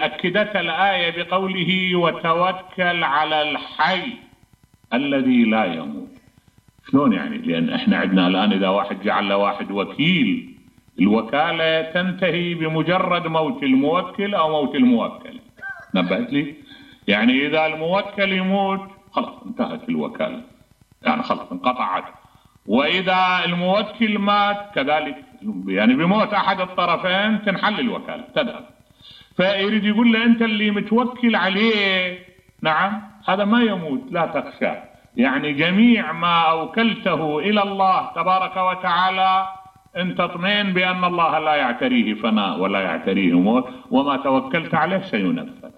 أكدت الآية بقوله وتوكل على الحي الذي لا يموت. شلون يعني؟ لأن احنا عندنا الآن إذا واحد جعل له واحد وكيل، الوكالة تنتهي بمجرد موت الموكل أو موت الموكل. نبهت لي؟ يعني إذا الموكل يموت خلاص انتهت الوكالة، يعني خلاص انقطعت. وإذا الموكل مات كذلك، يعني بموت أحد الطرفين تنحل الوكالة تذهب. فيريد يقول له أنت اللي متوكل عليه نعم هذا ما يموت لا تخشى، يعني جميع ما أوكلته إلى الله تبارك وتعالى أنت اطمئن بأن الله لا يعتريه فناء ولا يعتريه موت، وما توكلت عليه سينفذ.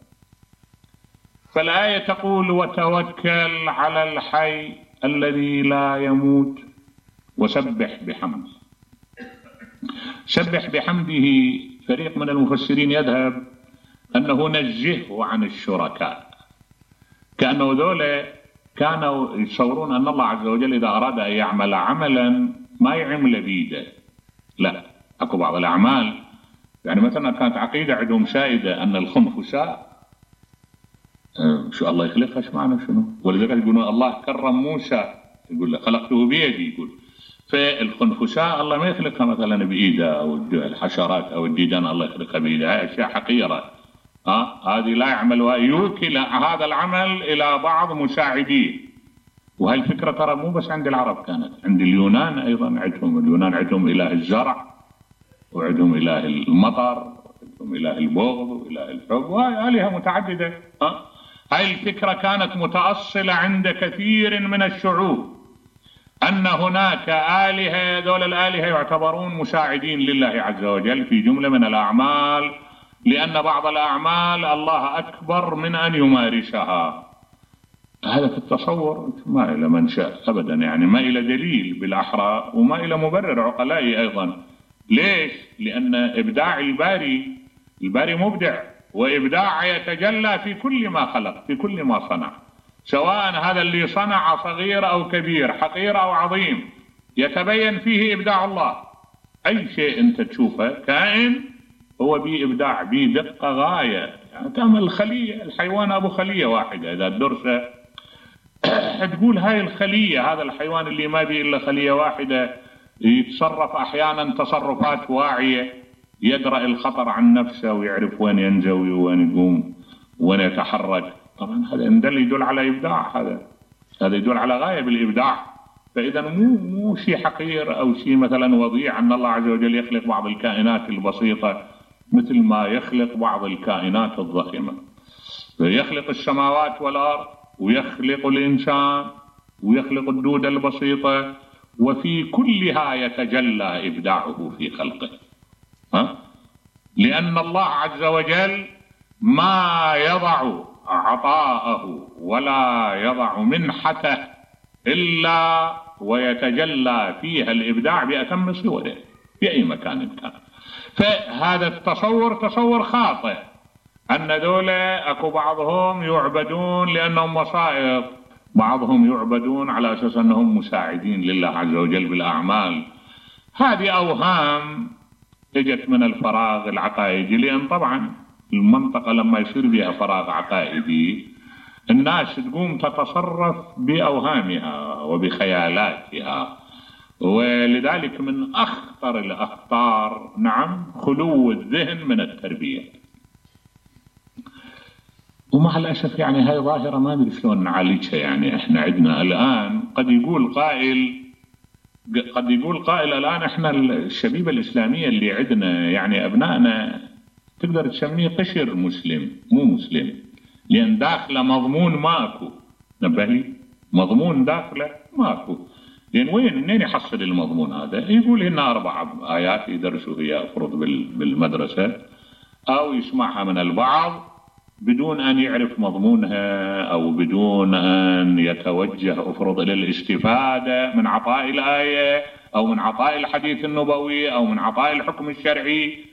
فالآية تقول وتوكل على الحي الذي لا يموت وسبح بحمده. سبح بحمده فريق من المفسرين يذهب أنه نزهه عن الشركاء، كأنه ذولا كانوا يتصورون أن الله عز وجل إذا أراد أن يعمل عملا ما يعمل بيده، لا، أكو بعض الأعمال يعني مثلا كانت عقيدة عندهم سائدة أن الخنفساء شو الله يخلقها، ايش معنى شنو؟ ولذلك يقولون الله كرم موسى، يقول له خلقته بيدي، يقول فالخنفساء الله ما يخلقها مثلا بإيده، أو الحشرات أو الديدان الله يخلقها بإيده، هاي أشياء حقيرة. هذه لا يعمل ويوكل هذا العمل إلى بعض مساعديه. وهي الفكرة ترى مو بس عند العرب، كانت عند اليونان أيضا. اليونان عندهم إله الزرع، وعندهم إله المطر، وعندهم إله البغض وإله الحب، وهي آلهة متعددة. هاي الفكرة كانت متأصلة عند كثير من الشعوب، أن هناك آلهة، دول الآلهة يعتبرون مساعدين لله عز وجل في جملة من الأعمال، لأن بعض الأعمال الله أكبر من أن يمارسها. هذا في التصور ما إلى منشأ أبدا، يعني ما إلى دليل بالأحرى، وما إلى مبرر عقلائي أيضا. ليش؟ لأن إبداع الباري مبدع، وإبداع يتجلى في كل ما خلق، في كل ما صنع، سواء هذا اللي صنع صغير أو كبير، حقير أو عظيم، يتبين فيه إبداع الله. أي شيء أنت تشوفه كائن هو بيه إبداع، بيه دقة غاية. يعني تعمل الخلية، الحيوان أبو خلية واحدة إذا الدرسة تقول هاي الخلية، هذا الحيوان اللي ما بيه إلا خلية واحدة يتصرف أحيانا تصرفات واعية، يدرأ الخطر عن نفسه ويعرف وين ينزوي وين يقوم وين يتحرك. طبعا هذا يدل على إبداع، هذا يدل على غاية بالإبداع. فإذا مو شيء حقير أو شيء مثلا وضيع أن الله عز وجل يخلق بعض الكائنات البسيطة مثل ما يخلق بعض الكائنات الضخمة. يخلق السماوات والأرض، ويخلق الإنسان، ويخلق الدودة البسيطة، وفي كلها يتجلى إبداعه في خلقه. لأن الله عز وجل ما يضع عطاءه ولا يضع منحته إلا ويتجلى فيها الإبداع بأتم صوره في أي مكان كان. فهذا التصور تصور خاطئ، أن ذولا أكو بعضهم يعبدون لأنهم وسائط، بعضهم يعبدون على أساس أنهم مساعدين لله عز وجل بالأعمال. هذه أوهام اجت من الفراغ العقائدي، لأن طبعا المنطقة لما يصير بها فراغ عقائدي الناس تقوم تتصرف بأوهامها وبخيالاتها، ولذلك من أخطر الأخطار نعم خلو الذهن من التربية. ومع الأسف يعني هاي ظاهرة ما أدري شلون نعالجها. يعني احنا عندنا الآن قد يقول قائل الآن احنا الشبيبة الإسلامية اللي عندنا يعني أبنائنا تقدر تسميه قشر مسلم مو مسلم، لأن داخله مضمون ماكو. نبه لي، مضمون داخله ماكو. لأن منين يحصل المضمون هذا؟ يقول هنا 4 آيات يدرسوا هي أفرض بالمدرسة، أو يسمعها من البعض بدون أن يعرف مضمونها، أو بدون أن يتوجه أفرض إلى الاستفادة من عطاء الآية أو من عطاء الحديث النبوي أو من عطاء الحكم الشرعي.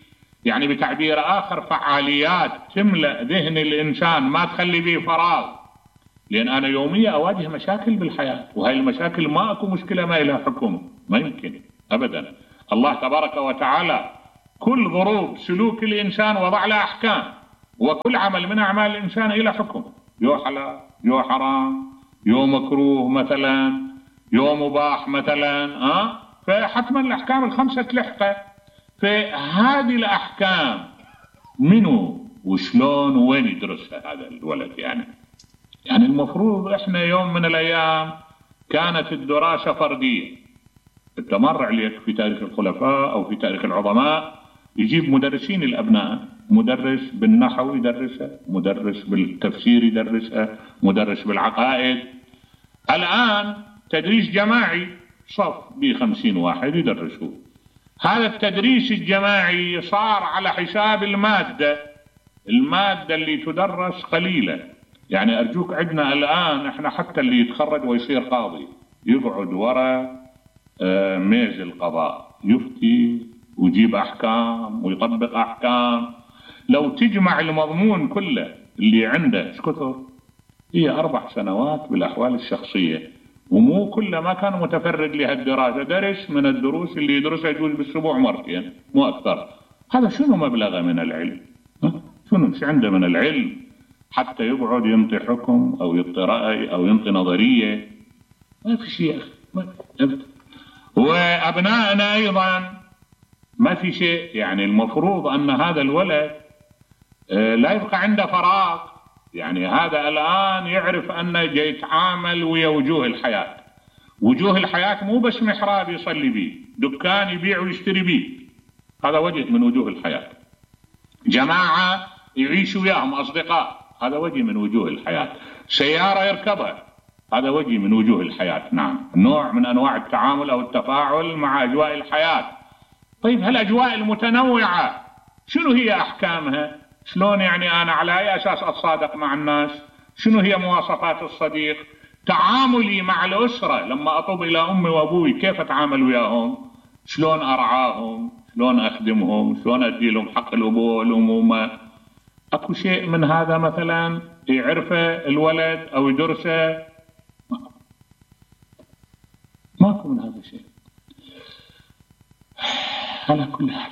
يعني بتعبير آخر فعاليات تملأ ذهن الإنسان ما تخلي به فراغ. لأن أنا يوميا أواجه مشاكل بالحياة، وهي المشاكل ما أكو مشكلة ما إلها حكم، ما يمكن أبدا. الله تبارك وتعالى كل ظروف سلوك الإنسان وضع له أحكام، وكل عمل من أعمال الإنسان إلى حكم، يو حلال يو حرام يو مكروه مثلا يو مباح مثلا، فحتما الأحكام الخمسة تلحقه. فهذه الأحكام منو وشلون وين يدرسها هذا الولد؟ يعني المفروض احنا يوم من الأيام كانت الدراسة فردية. انت مر عليك في تاريخ الخلفاء أو في تاريخ العظماء يجيب مدرسين الأبناء، مدرس بالنحو يدرسها، مدرس بالتفسير يدرسها، مدرس بالعقائد. الآن تدريس جماعي، صف ب50 واحد يدرسوه. هذا التدريس الجماعي صار على حساب المادة اللي تدرس قليلة. يعني أرجوك عندنا الآن احنا حتى اللي يتخرج ويصير قاضي يقعد وراء ميز القضاء يفتي ويجيب أحكام ويطبق أحكام. لو تجمع المضمون كله اللي عنده كثر، هي 4 سنوات بالأحوال الشخصية، ومو كله ما كان متفرد لهالدراسة، درس من الدروس اللي يدرسها يجوز بالأسبوع مرتين مو أكثر. هذا شنو مبلغه من العلم؟ شنو عنده من العلم حتى يقعد ينطي حكم أو ينطي رأي أو ينطي نظرية؟ ما في شيء أبدا. وأبنائنا أيضا ما في شيء. يعني المفروض أن هذا الولد لا يبقى عنده فراغ. يعني هذا الآن يعرف أنه جاي يتعامل ويا وجوه الحياة. وجوه الحياة مو بس محراب يصلي بيه، دكان يبيع ويشتري بيه، هذا وجه من وجوه الحياة. جماعة يعيش وياهم أصدقاء، هذا وجه من وجوه الحياة. سيارة يركبها، هذا وجه من وجوه الحياة. نعم، نوع من أنواع التعامل أو التفاعل مع أجواء الحياة. طيب هالأجواء المتنوعة شنو هي أحكامها؟ شلون يعني أنا على أي أساس أتصادق مع الناس؟ شنو هي مواصفات الصديق؟ تعاملي مع الأسرة لما أطب إلى أمي وأبوي كيف أتعامل وياهم؟ شلون أرعاهم؟ شلون أخدمهم؟ شلون أدي لهم حق الأبوة والأمومة؟ أكو شيء من هذا مثلا يعرفه الولد أو يدرسه؟ ماكو من هذا الشيء. على كل حال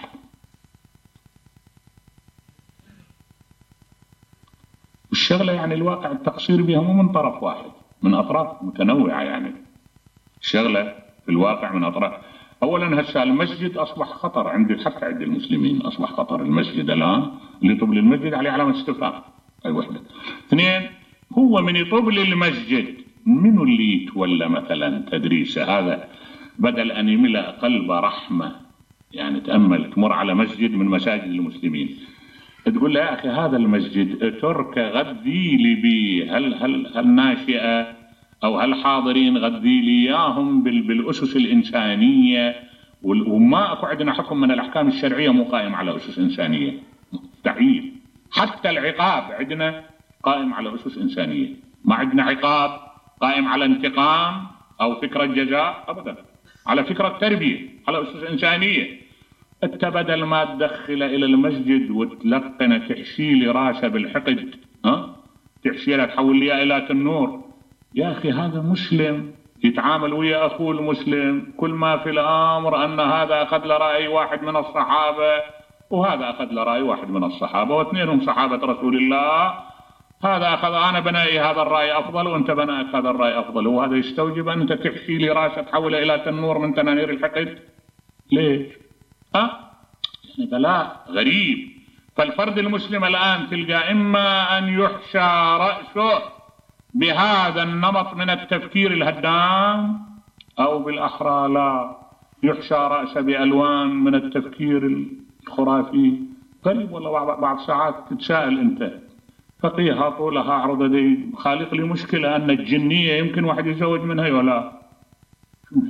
والشغلة يعني الواقع التقصير بها مو من طرف واحد، من أطراف متنوعة. يعني الشغلة في الواقع من أطراف. أولا هسه المسجد أصبح خطر حتى عند المسلمين أصبح خطر. المسجد الآن اللي يطب للمسجد عليه علامة استفهام، أي وحدة. 2، هو من يطب للمسجد منو اللي يتولى مثلا تدريسه؟ هذا بدل أن يملأ قلبه رحمة. يعني تأمل تمر على مسجد من مساجد المسلمين تقول له يا أخي هذا المسجد ترك غذي لي بيه هل ناشئة أو هالحاضرين غذي لي إياهم بالأسس الإنسانية. وما أكو عندنا حكم من الأحكام الشرعية مو قائم على أسس إنسانية، مستحيل. حتى العقاب عندنا قائم على أسس إنسانية، ما عندنا عقاب قائم على انتقام أو فكرة جزاء أبدا، على فكرة تربية، على أسس إنسانية. أنت بدل ما تدخل إلى المسجد وتلقنه تحشي لي راسه بالحقد، تحشي له تحول لي إلى النور. يا أخي هذا مسلم يتعامل ويا أخوه المسلم، كل ما في الأمر أن هذا أخذ لرأي واحد من الصحابة وهذا أخذ لرأي واحد من الصحابة واثنينهم صحابة رسول الله. هذا أخذ أنا بنائي هذا الرأي أفضل وأنت بنائك هذا الرأي أفضل، وهذا يستوجب أن أنت تحشي لي راسه تحوله إلى تنور من تنانير الحقد. ليش؟ يعني بلاء غريب. فالفرد المسلم الآن تلقى إما أن يحشى رأسه بهذا النمط من التفكير الهدام، أو بالأحرى لا يحشى رأسه بألوان من التفكير الخرافي. غريب والله. بعض ساعات تتساءل أنت فقيها طولها عرض دي خالق لي مشكلة أن الجنية يمكن واحد يتزوج منها ولا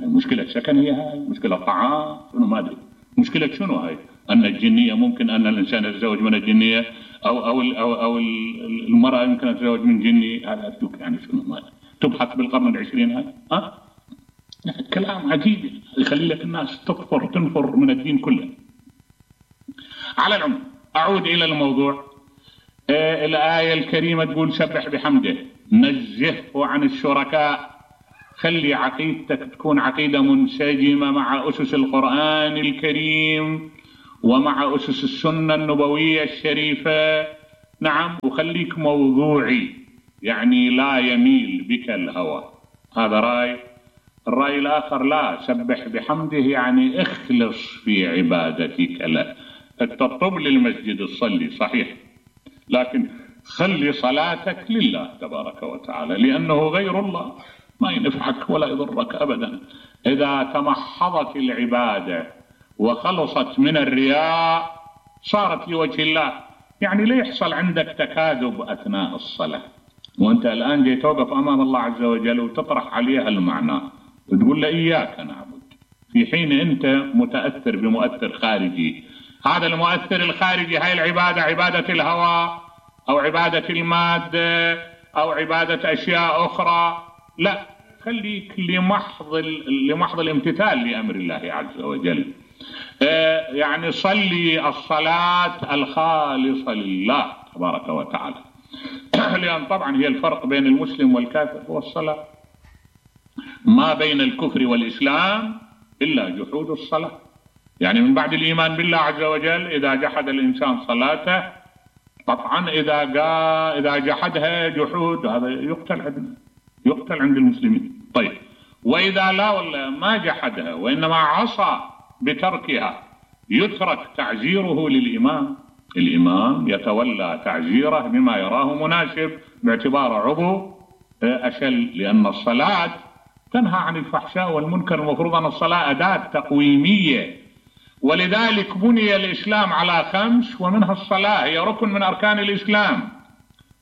مشكلة سكنية، هاي مشكلة طعام، شنو ما أدري مشكلة شنو هاي. أن الجنية ممكن أن الإنسان يتزوج من الجنية أو المرأة يمكن أن تتزوج من جني. هذا أدوك يعني شنو ما تبحث بالقرن العشرين هاي. يعني كلام عجيب يخلي لك الناس تنفر من الدين كله. على العموم أعود إلى الموضوع. الآية الكريمة تقول سبح بحمده، نزهه عن الشركاء. خلي عقيدتك تكون عقيدة منسجمة مع أسس القرآن الكريم ومع أسس السنة النبوية الشريفة. نعم، وخليك موضوعي، يعني لا يميل بك الهوى. هذا رأي. الرأي الآخر لا، سبح بحمده يعني اخلص في عبادتك له. انت تطب للمسجد تصلي صحيح، لكن خلي صلاتك لله تبارك وتعالى، لأنه غير الله ما ينفعك ولا يضرك أبدا. إذا تمحضت العبادة وخلصت من الرياء صارت لوجه الله. يعني لا يحصل عندك تكاذب أثناء الصلاة وأنت الآن جاي توقف أمام الله عز وجل وتطرح عليه المعنى وتقول له إياك نعبد، في حين أنت متأثر بمؤثر خارجي. هذا المؤثر الخارجي، هاي العبادة عبادة الهوى أو عبادة المادة أو عبادة أشياء أخرى، لا، خليك لمحض الامتثال لأمر الله عز وجل. يعني صلي الصلاة الخالصة لله تبارك وتعالى. لأن طبعا هي الفرق بين المسلم والكافر هو الصلاة، ما بين الكفر والإسلام إلا جحود الصلاة. يعني من بعد الإيمان بالله عز وجل إذا جحد الإنسان صلاته طبعا إذا جحدها جحود هذا يقتل عند المسلمين. طيب، وإذا لا ولا ما جحدها وإنما عصى بتركها يترك تعزيره للإمام. الإمام يتولى تعزيره بما يراه مناسب باعتبار عضو أشل، لأن الصلاة تنهى عن الفحشاء والمنكر. المفروض أن الصلاة أداة تقويمية، ولذلك بني الإسلام على 5 ومنها الصلاة، هي ركن من أركان الإسلام.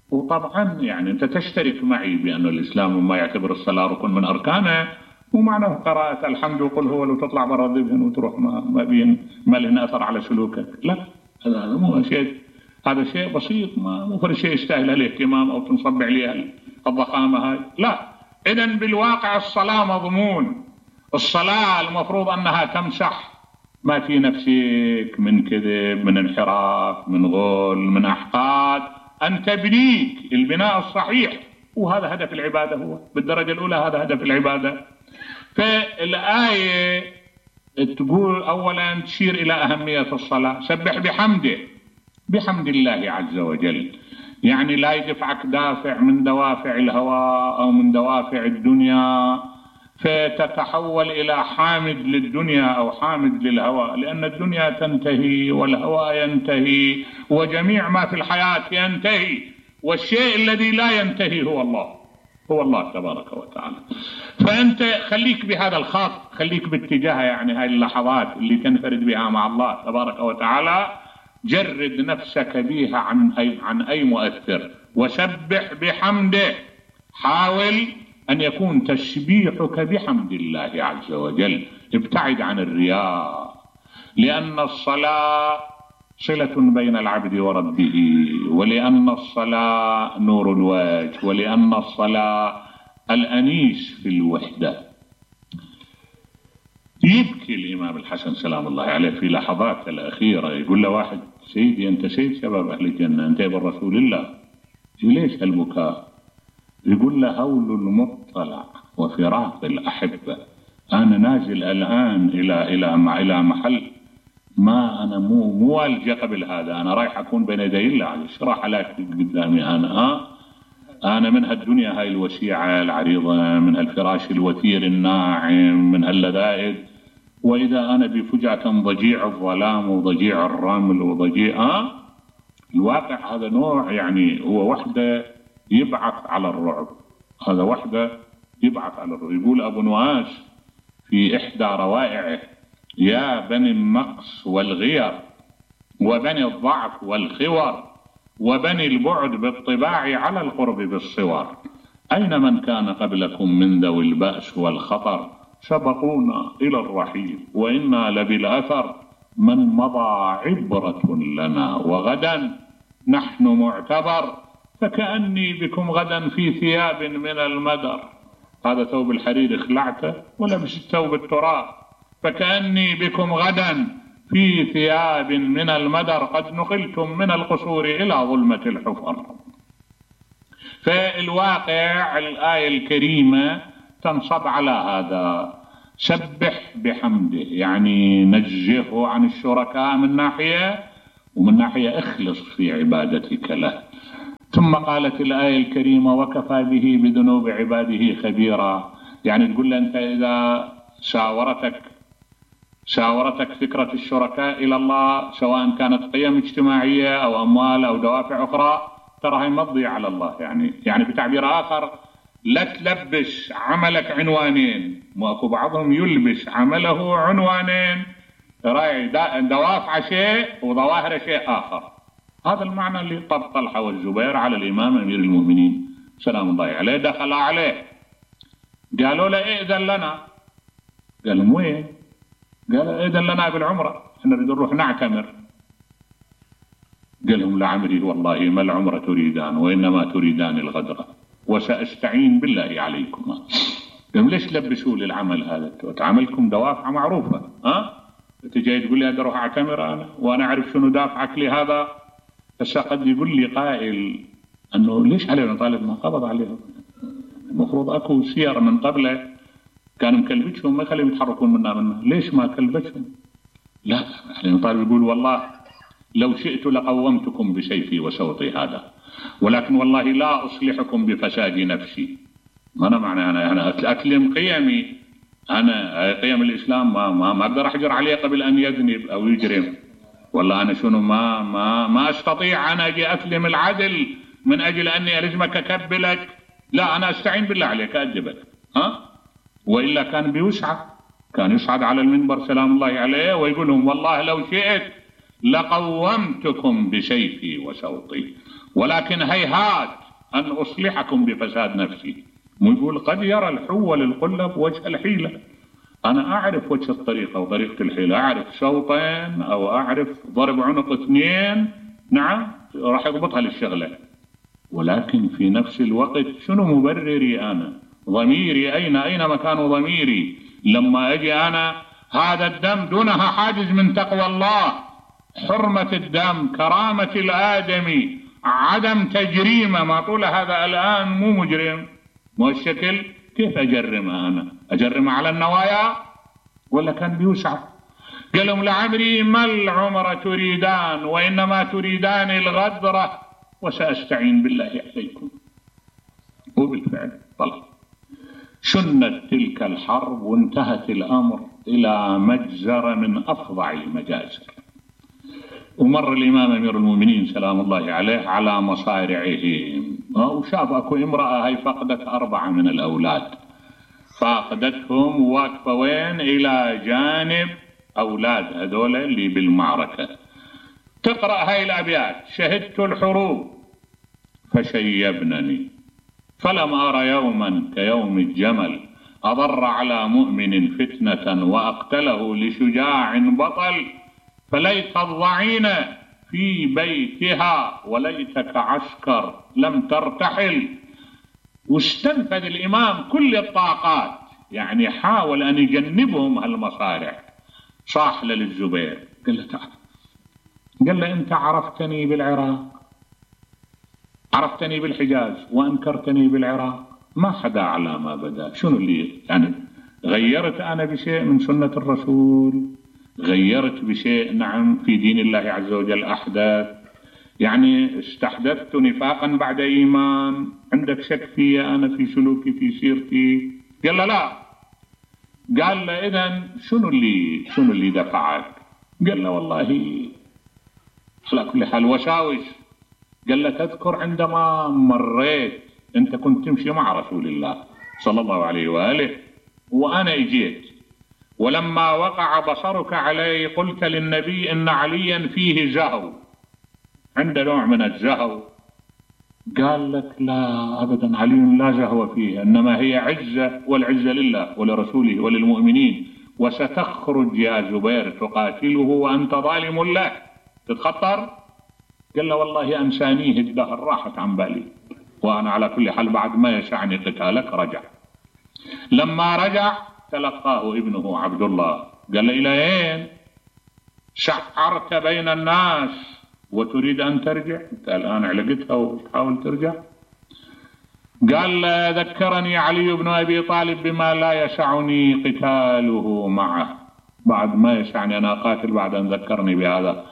وطبعا يعني أنت تشترك معي بأن الإسلام ما يعتبر الصلاة ركن من أركانه، ومعنى قراءة الحمد وقل هو لو تطلع برا الذهن وتروح ما له أثر على سلوكك. لا، هذا مو شيء، هذا شيء بسيط، مو فرق شيء يستاهل الاهتمام أو تنصب عليه الضخامة هاي. لا، إذن بالواقع الصلاة مضمون. الصلاة المفروض أنها تمسح ما في نفسك من كذب، من انحراف، من غل، من أحقاد، أن تبنيك البناء الصحيح. وهذا هدف العبادة، هو بالدرجة الأولى هذا هدف العبادة. فالآية تقول أولا تشير إلى أهمية الصلاة. سبح بحمد الله عز وجل، يعني لا يدفعك دافع من دوافع الهوى أو من دوافع الدنيا فتتحول إلى حامد للدنيا أو حامد للهوى، لأن الدنيا تنتهي والهوى ينتهي وجميع ما في الحياة ينتهي، والشيء الذي لا ينتهي هو الله تبارك وتعالى. فأنت خليك بهذا الخط، خليك باتجاه يعني هاي اللحظات اللي تنفرد بها مع الله تبارك وتعالى، جرد نفسك بها عن أي مؤثر وسبح بحمده. حاول أن يكون تسبيحك بحمد الله عز وجل، ابتعد عن الرياء، لأن الصلاة صلة بين العبد وربه، ولأن الصلاة نور الوجه، ولأن الصلاة الأنيس في الوحدة. يبكي الإمام الحسن سلام الله عليه في لحظات الأخيرة، يقول له واحد: سيدي أنت سيد شباب أهل الجنة، أنت ابن رسول الله، ليش هالبكاء؟ يقول له: هول المطلع وفراق الأحبة، أنا نازل الآن إلى محل ما أنا مو والجأ قبل هذا، أنا رايح أكون بين يدي الله. إيش راح عليك قدامي أنا من هالدنيا هاي الوسيعة العريضة، من هالفراش الوثير الناعم، من هاللذائذ، وإذا أنا بفجأة ضجيع الظلام وضجيع الرمل وضجيع الواقع. هذا نوع يعني هو وحده يبعث على الرعب، هذا وحده يبعث على الرعب. يقول أبو نواس في إحدى روائعه: يا بني النقص والغير وبني الضعف والخور وبني البعد بالطباع على القرب بالصور، أين من كان قبلكم من ذوي البأس والخطر، سبقونا إلى الرحيل وإنا لبالأثر، من مضى عبرة لنا وغدا نحن معتبر، فكأني بكم غدا في ثياب من المدر. هذا ثوب الحرير خلعته ولبس ثوب التراب، فكأني بكم غدا في ثياب من المدر، قد نقلتم من القصور إلى ظلمة الحفر. فالواقع الآية الكريمة تنصب على هذا: سبح بحمده، يعني نزهه عن الشركاء من ناحية، ومن ناحية اخلص في عبادتك له. ثم قالت الآية الكريمة وكفى به بذنوب عباده خبيرا، يعني تقول له أنت إذا شاورتك فكرة الشركاء إلى الله سواء كانت قيم اجتماعية أو أموال أو دوافع أخرى، ترى هي ما تضيع على الله. يعني بتعبير آخر لا تلبس عملك عنوانين، واكو بعضهم يلبس عمله عنوانين، راعي دوافع شيء وظواهر شيء آخر. هذا المعنى اللي طلحة والزبير على الإمام أمير المؤمنين سلام الله عليه. دخل عليه قالوا له ائذن لنا، قال لهم وين؟ قال ائذن لنا بالعمرة، احنا نريد نروح نعتمر. قال لهم لعمري والله ما العمرة تريدان وإنما تريدان الغدرة وسأستعين بالله عليكما. قال ليش تلبسوا لي العمل هذا؟ عملكم دوافع معروفة، انت جاي تقول لي اروح اعتمر انا وانا اعرف شنو دافعك لهذا. بس قد يقول لي قائل انه ليش علي بن طالب ما قبض عليهم؟ المفروض اكو سير من قبله كان مكلبتهم ما يخليهم يتحركون منه، ليش ما كلبتهم؟ لا، علي بن طالب يقول والله لو شئت لقومتكم بسيفي وسوطي هذا، ولكن والله لا اصلحكم بفساد نفسي. انا معنى انا اتلم قيمي، انا قيم الاسلام ما اقدر احجر عليه قبل ان يذنب او يجرم. والله انا شنو ما استطيع انا اجي اتلم العدل من اجل اني الزمك اكبلك، لا انا استعين بالله عليك ادبك. والا كان بيوسعه، كان يصعد على المنبر سلام الله عليه ويقول لهم والله لو شئت لقومتكم بسيفي وسوطي ولكن هيهات ان اصلحكم بفساد نفسي. ويقول قد يرى الحو للقلب وجه الحيلة، أنا أعرف وجه الطريقة وطريقة الحيلة، أعرف شوطين أو أعرف ضرب عنق اثنين، نعم راح يضبطها للشغلة. ولكن في نفس الوقت شنو مبرري أنا؟ ضميري أين مكان ضميري لما أجي أنا هذا الدم دونها حاجز من تقوى الله، حرمة الدم، كرامة الآدمي، عدم تجريمه، ما طول هذا الآن مو مجرم، مو الشكل، كيف أجرمها أنا؟ أجرمها على النوايا ولا كان بيوسع؟ قال لهم لعمري ما العمر تريدان وإنما تريدان الغدرة وسأستعين بالله عليكم. وبالفعل طلع شنت تلك الحرب وانتهت الأمر إلى مجزرة من أفظع المجازر. ومر الإمام أمير المؤمنين سلام الله عليه على مصارعهم وشاف أكو امرأة هي فقدت 4 من الأولاد، فاقدتهم واقفة وين؟ إلى جانب أولاد هذول اللي بالمعركة. تقرأ هاي الأبيات: شهدت الحروب فشيبنني فلم أرى يوما كيوم الجمل، أضر على مؤمن فتنة وأقتله لشجاع بطل، فليت الضعين في بيتها وليتك عسكر لم ترتحل. واستنفذ الإمام كل الطاقات، يعني حاول أن يجنبهم هالمصارع. صاح للزبير قال له تعال، قال له أنت عرفتني بالعراق، عرفتني بالحجاز وأنكرتني بالعراق، ما حدا على ما بدا. شنو اللي يعني غيرت أنا بشيء من سنة الرسول؟ غيرت بشيء نعم في دين الله عز وجل أحدث؟ يعني استحدثت نفاقا بعد إيمان؟ عندك شك في أنا في سلوكي في سيرتي؟ قال له لا. قال له إذن شنو اللي دفعك؟ قال له والله على كل حال وساوس. قال له تذكر عندما مريت أنت كنت تمشي مع رسول الله صلى الله عليه وآله وأنا اجيت، ولما وقع بصرك علي قلت للنبي إن عليا فيه زهو، عنده نوع من الزهو. قال لك لا أبدا، علي لا زهو فيه، إنما هي عزة، والعزة لله ولرسوله وللمؤمنين، وستخرج يا زبير تقاتله وأنت ظالم له، تتخطر؟ قال له والله أنسانيه الدهر، راحت عن بالي، وأنا على كل حال بعد ما يسعني قتالك. رجع. لما رجع تلقاه ابنه عبد الله، قال له إلى أين؟ شعرت بين الناس وتريد أن ترجع؟ أنت الآن علقتها وتحاول ترجع؟ قال ذكرني علي بن أبي طالب بما لا يسعني قتاله معه، بعد ما يسعني أنا قاتل بعد أن ذكرني بهذا.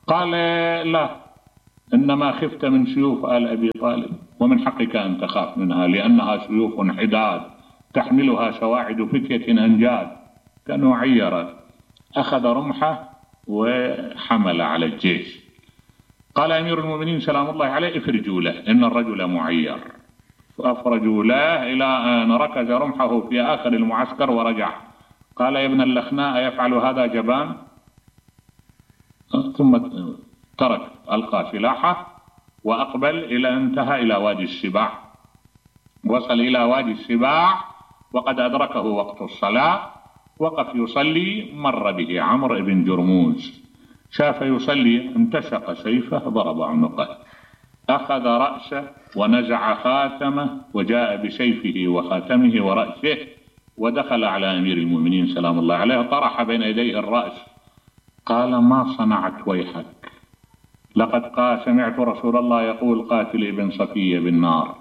قال لا، إنما خفت من سيوف آل أبي طالب، ومن حقك أن تخاف منها لأنها سيوف حداد تحملها سواعد فتية أنجاد. كانوا عيرا، أخذ رمحه وحمل على الجيش. قال أمير المؤمنين سلام الله عليه افرجوا له إن الرجل معير. فأفرجوا له إلى أن ركز رمحه في آخر المعسكر ورجع. قال يا ابن اللخناء يفعل هذا جبان؟ ثم ترك، ألقى سلاحه وأقبل إلى انتهى إلى وادي السباع. وصل إلى وادي السباع وقد أدركه وقت الصلاة، وقف يصلي، مر به عمرو بن جرموز، شاف يصلي، انتشق سيفه ضرب عنقه، أخذ رأسه ونزع خاتمه وجاء بسيفه وخاتمه ورأسه ودخل على أمير المؤمنين سلام الله عليه، طرح بين يديه الرأس. قال ما صنعت ويحك؟ لقد سمعت رسول الله يقول قاتل ابن صفية بالنار.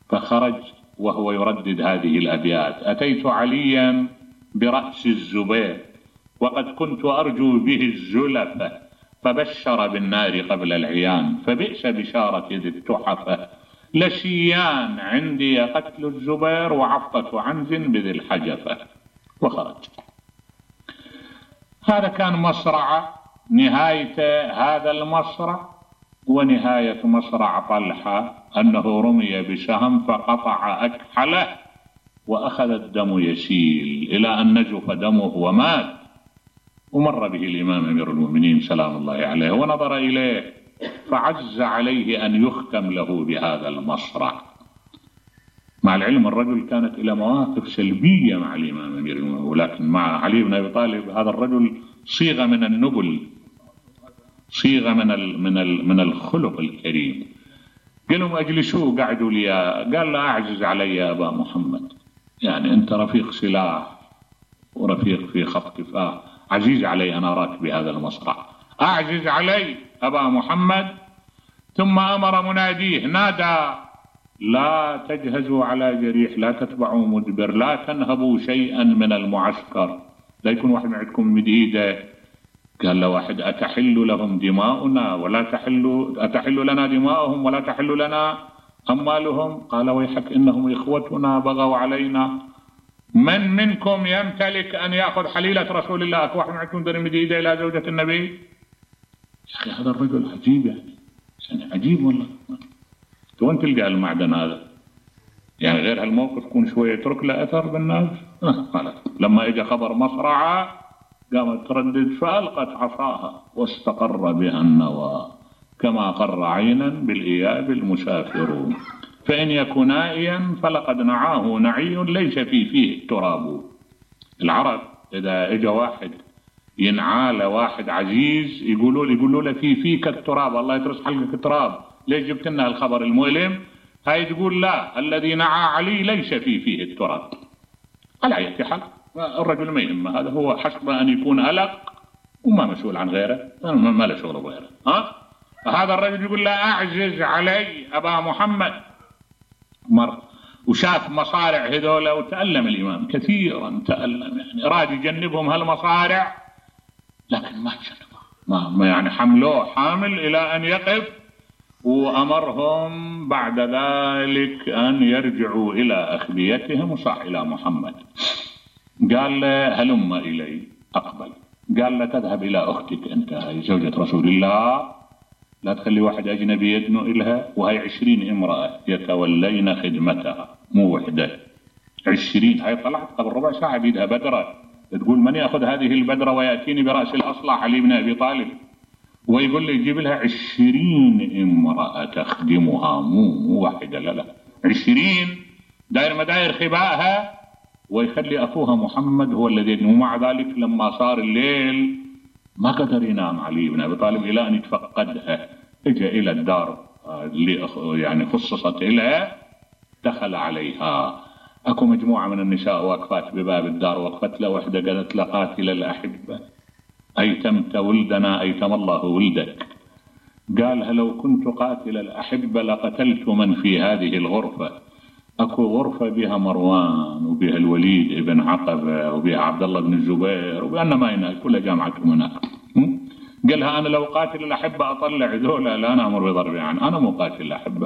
فخرج وهو يردد هذه الأبيات: أتيت عليا برأس الزبير وقد كنت أرجو به الزلفة، فبشر بالنار قبل العيان، فبئس بشارة ذي التحفة، لشيان عندي قتل الزبير وعفقة عنز بذي الحجفة. وخرج. هذا كان مصرع، نهاية هذا المصرع ونهاية مصرع طلحة أنه رمي بسهم فقطع أكحله وأخذ الدم يسيل إلى أن نجف دمه ومات. ومر به الإمام أمير المؤمنين سلام الله عليه ونظر إليه فعز عليه أن يختم له بهذا المصرع. مع العلم الرجل كانت إلى مواقف سلبية مع الإمام أمير المؤمنين، ولكن مع علي بن أبي طالب هذا الرجل صيغة من النبل، صيغة من الخلق الكريم. قالوا أجلسوا، قعدوا لي، قال لا أعجز علي يا أبا محمد، يعني أنت رفيق سلاح ورفيق في خط كفاح، عزيز علي أن أراك بهذا المصرع، أعجز علي أبا محمد. ثم أمر مناديه، نادى: لا تجهزوا على جريح، لا تتبعوا مدبر، لا تنهبوا شيئا من المعسكر، لا يكون واحد معكم مديدة. قال له واحد: أتحل لهم دماؤنا ولا أتحل لنا دماؤهم ولا تحل لنا أموالهم؟ قال ويحك إنهم إخوتنا بغوا علينا، من منكم يمتلك أن يأخذ حليلة رسول الله؟ أكو واحد معكم دري مديدة إلى زوجة النبي؟ يا أخي هذا الرجل عجيب، يعني عجيب والله. وين تلقى المعدن هذا؟ يعني غير هالموقف يكون شوية يترك له أثر بالناس. لما إجا خبر مصرعة قامت تردد فألقت عصاها واستقر بها النوى، كما قر عينا بالإياب المسافر، فإن يكن نائيا فلقد نعاه نعي ليس فيه التراب. العرب إذا إجا واحد ينعى واحد عزيز يقولوا له فيك التراب، الله يترس حلقك التراب، ليش جبت لنا الخبر المؤلم؟ هاي تقول لا، الذي نعى علي ليس فيه التراب. على أي حال الرجل ما يهمه، هذا هو حسب أن يكون ألق وما مسؤول عن غيره، ما له شغل غيره. فهذا الرجل يقول لا أعجز علي أبا محمد. مر وشاف مصارع هذولا وتألم الإمام كثيرا، تألم، يعني أراد يجنبهم هالمصارع لكن ما جنبه، ما يعني حملوه حامل إلى أن يقف، وأمرهم بعد ذلك أن يرجعوا إلى أخبيتهم وصح إلى محمد. قال له هلم إلي، أقبل. قال له تذهب إلى أختك أنت، هي زوجة رسول الله، لا تخلي واحد أجنبي يدنو إلها، وهي 20 امرأة يتولين خدمتها، مو وحدة، 20. هاي طلعت قبل ربع ساعة بيدها بدرة، تقول من يأخذ هذه البدرة ويأتيني برأس الأصلع علي بن أبي طالب، ويقول لي يجيب لها 20 امرأة تخدمها، مو واحدة، لا 20 داير مداير خبائها، ويخلي أخوها محمد هو الذي. ومع ذلك لما صار الليل ما قدر ينام علي بن أبي طالب إلى أن يتفقدها، اجى إلى الدار اللي يعني خصصت إلها، دخل عليها، أكو مجموعة من النساء واقفات بباب الدار، وقفت له وحدة قالت له قاتل الأحبة أيتمت ولدنا أيتم الله ولدك. قالها لو كنت قاتل الأحبة لقتلت من في هذه الغرفة، أكو غرفة بها مروان وبها الوليد ابن عقبة وبها عبد الله بن الزبير وبأن ما هناك كلها جامعتهم هناك. قالها أنا لو قاتل الأحبة أطلع ذولا لا نأمر بضربها، يعني أنا مو قاتل الأحبة.